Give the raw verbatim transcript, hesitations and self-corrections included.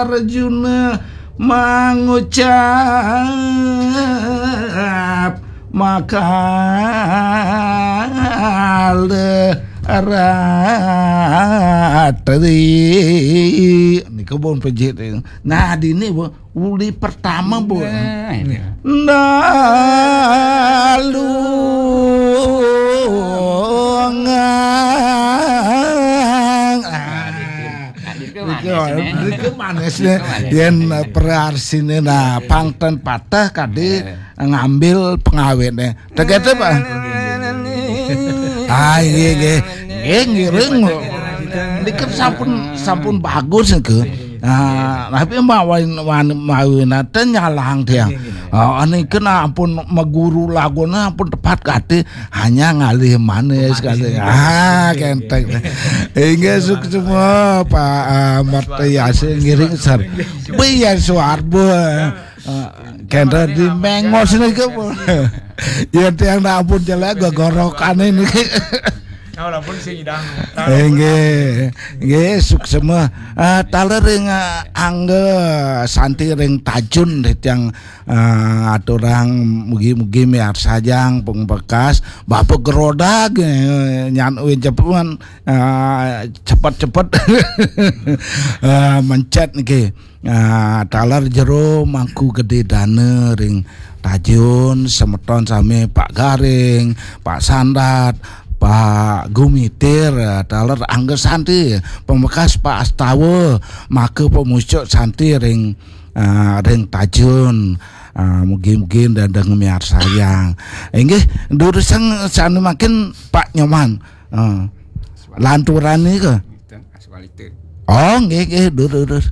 Arjuna mangucap makal ratri. Niku pun pejit. Nah, dini, Bu, uli pertama, Bu. Nah, ini. Nalungang. Ah. Nah, itu manis, nih. Itu manis, nih. Itu manis. Yen, eh, perarsiné, nah, pangten patah kadi ngambil pengawétné. Tegete, Pak. Ah, iya, iya. Nggih, ngiring. Niki sampun, sampun bagus niki. Nah, tapi mawin, mawin, mawinate nyalang tiang. Ah, niki ampun meguru lagune ampun tepat kadi, hanya ngalih manis kadi. Ah, kenteng. Inggih, suksma, Pak, ah, Martayasa ngiring sar. Biyen Suwarbo. Ah, kenteng di mengos niki, Bu. Ya, tiang nak ampun jelek gogorokane niki. Nah, walaupun sing idang. Inggih, inggih, suksma. Ah, taler ring, ah, angga santi ring tajun, tiang, ah, aturang mugi-mugi miarsajang pung bekas Bapak Gerodag, eh, nyan uin cepuan, ah, cepet-cepet. Ah, mencet niki. Ah, taler jero Mangku Gedé Dana ring tajun, semeton sami Pak Garing, Pak Sandat, Pak Gumitir, ah, taler angga santi, pamekas Pak Astawa, maka pamucuk santi ring, ah, ring tajun. Ah, mugi-mugi ndedeng miarsayang. Inggih, durusang sane mangkin Pak Nyoman. Ah, lanturan nika. Oh, nggih, nggih, durus, durus.